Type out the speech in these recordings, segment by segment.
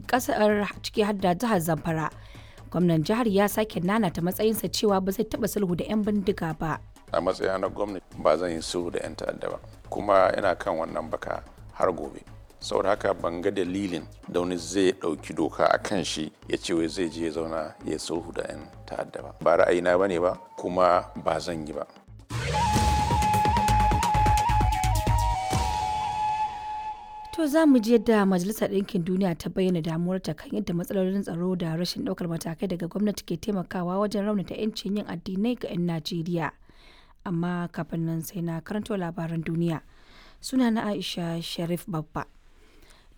Kasar ciki har da jihar Zamfara. Gwamnan jihar ya sake nanata matsayinsa cewa ba zai taɓa sulhu da 'yan bindiga ba. A matsayina na gwamnati, ba zan yi sulhu da 'yan ta'adda ba, kuma ina kan wannan baka har gobe. Saboda haka ban ga dalilin da wani zai ɗauki doka a kan shi ya ce wai zai je ya zauna ya sulhu da 'yan ta'adda ba. Ba ra'ayina bane ba, kuma ba zan yi ba. To, za mu ji yadda Majalisar Ɗinkin Duniya ta bayyana damuwarta kan yadda matsalolin tsaro da rashin ɗaukar matakai daga gwamnati ke taimakawa wajen raunata 'yancin yin addinai ga 'yan Najeriya. Amma kafin nan sai na karanto labaran duniya. Suna na Aisha Sharif Babba.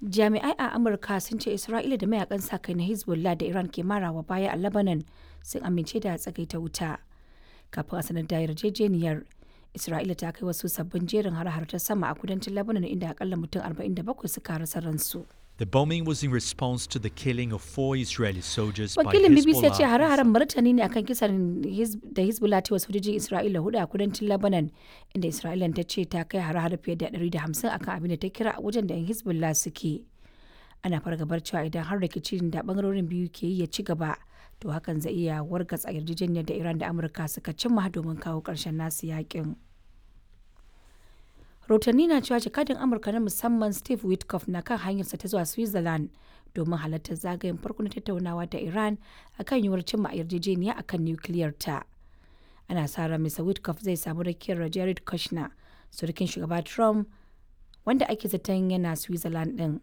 Jami'ai a Amurka sun ce Isra'ila da mayakan sa kai na Hezbollah da Iran ke marawa baya a Lebanon sun amince da tsagaita wuta. Kafin a sanar da yarjejeniyar, Isra'ila ta kai wasu sabbin jerin har-har ta sama a kudancin Lebanon, inda akalla mutum 47 suka rasa ransu. The bombing was in response to the killing of four Israeli soldiers by Wakilin BBC ya ce Hezbollah. hare-haren martani ne akan kisan da Hezbollah ta yi wa sojojin Isra'ila hudu a kudancin Lebanon, inda Isra'ila ta ce ta kai hare-hare fiye da 150 akan abin da ta kira wajen da 'yan Hezbollah suke. Ana fargabar cewa idan har rikicin da bangarorin biyu ke yi ya ci gaba, to hakan zai iya wargatsa yarjejeniyar da Iran da Amurka suka cimma domin kawo ƙarshen nasu yakin. Rahotanni na cewa jakadin Amurka na musamman Steve Witkoff na kan hanyarsa ta zuwa Switzerland domin halartar zagayen farko na tattaunawa da Iran akan yiwuwar cimma yarjejeniya akan nukiliyar ta. Ana sa ran Mr. Witkoff zai samu rakiyar Jared Kushner, surukin shugaba Trump, wanda ake zaton yana Switzerland din.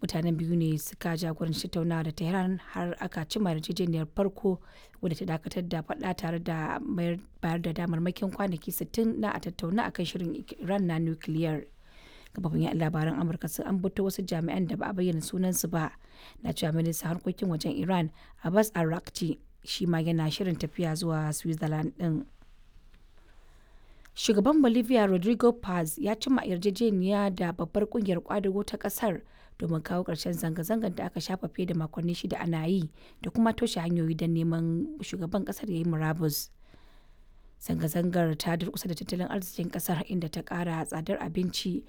Mutanen biyu ne suka jagoranci tattaunawa da Tehran har aka cimma yarjejeniyar farko wadda ta dakatar da faɗa tare da bayar da damarmakin kwanaki 60 na a tattauna akan shirin Iran na nukiliyar. Kafafin yaɗa labaran Amurka sun ambato wasu jami'an da ba a bayyana sunansu ba na cewa ministan harkokin wajen Iran Abbas Araghchi shi ma yana shirin tafiya zuwa Switzerland din. Shugaban Bolivia Rodrigo Paz ya cimma yarjejeniya da babbar kungiyar kwadago ta kasar domin kawo ƙarshen zanga-zangar da aka shafa fiye da makonni 6 ana yi da kuma toshe hanyoyi don neman shugaban kasar ya yi murabus. Zanga-zangar ta durkusa da tattalin arzikin kasar, inda ta ƙara tsadar abinci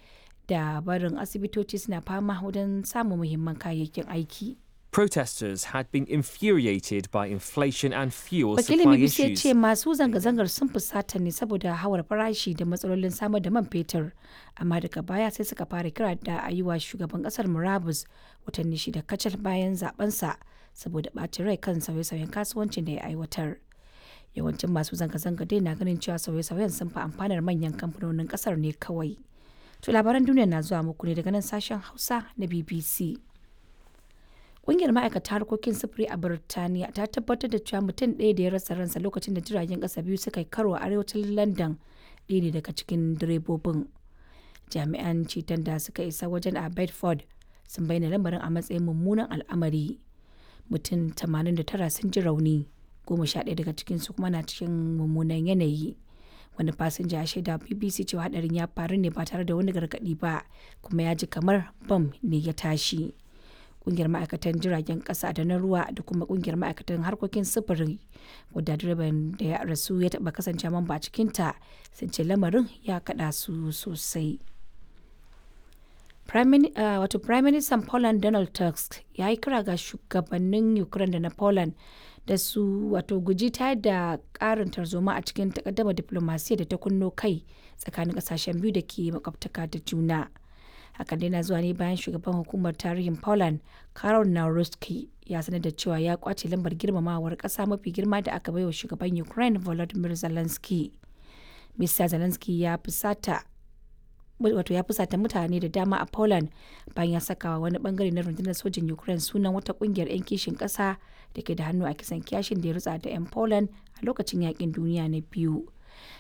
da barin asibitoci suna fama wajen samun muhimman kayayyakin aiki. Protesters had been infuriated by inflation and fuel Wakilin supply BBC ya issues. ce masu zanga-zangar sun fusata ne saboda hawar farashi da matsalolin samar da man fetur, amma daga baya sai suka fara kira da a yi wa shugaban kasar murabus watanni 6 kacal bayan zabensa saboda ɓacin rai kan sauye-sauyen kasuwancin da ya aiwatar. Yawancin masu zanga-zanga dai na ganin cewa sauye-sauyen sun fi amfanar manyan kamfanonin kasar ne kawai. To, labaran duniya na zuwa muku ne daga nan sashen Hausa na BBC. Ƙungiyar ma'aikata harkokin sufuri a Birtaniya ta tabbatar da cewa mutum ɗaya da ya rasa ransa lokacin da jiragen ƙasa biyu suka yi karo a arewacin London ɗaya ne daga cikin direbobin. Jami'an ceton da suka isa wajen a Bedford sun bayyana lamarin a matsayin mummunan al'amari. Mutum 89 sun ji rauni, 11 daga cikinsu kuma na cikin mummunan yanayi. Wani fasinja ya shaida wa BBC cewa hadarin ya faru ne ba tare da wani gargaɗi ba, kuma ya ji kamar bam ne ya tashi. Kungiyar ma'aikatan jiragen kasa da na ruwa da kuma kungiyar ma'aikatan harkokin sufuri, wadda direban da ya rasu ya taba kasance mamba a cikinta, sun ce lamarin ya kada su sosai. Wato Prime Minister Poland Donald Tusk ya yi kira ga shugabannin Ukraine da na Poland da su wato guji tayar da karin tarzoma a cikin takaddama diplomasiya da ta kunno kai tsakanin kasashen biyu da ke makwabtaka da juna. Hakan dai na zuwa ne bayan shugaban hukumar tarihin Poland Karol Nawrocki ya sanar da cewa ya kwace lambar girmamawar kasa mafi girma da aka baiwa shugaban Ukraine Volodymyr Zelensky. Mr. Zelensky ya fusata, wato ya fusata mutane da dama a Poland bayan ya sakawa wani bangare na rundunar sojin Ukraine sunan wata kungiyar 'yan kishin kasa da ke da hannu a kisan kiyashin da ya rutsa da 'yan Poland a lokacin yakin duniya na biyu.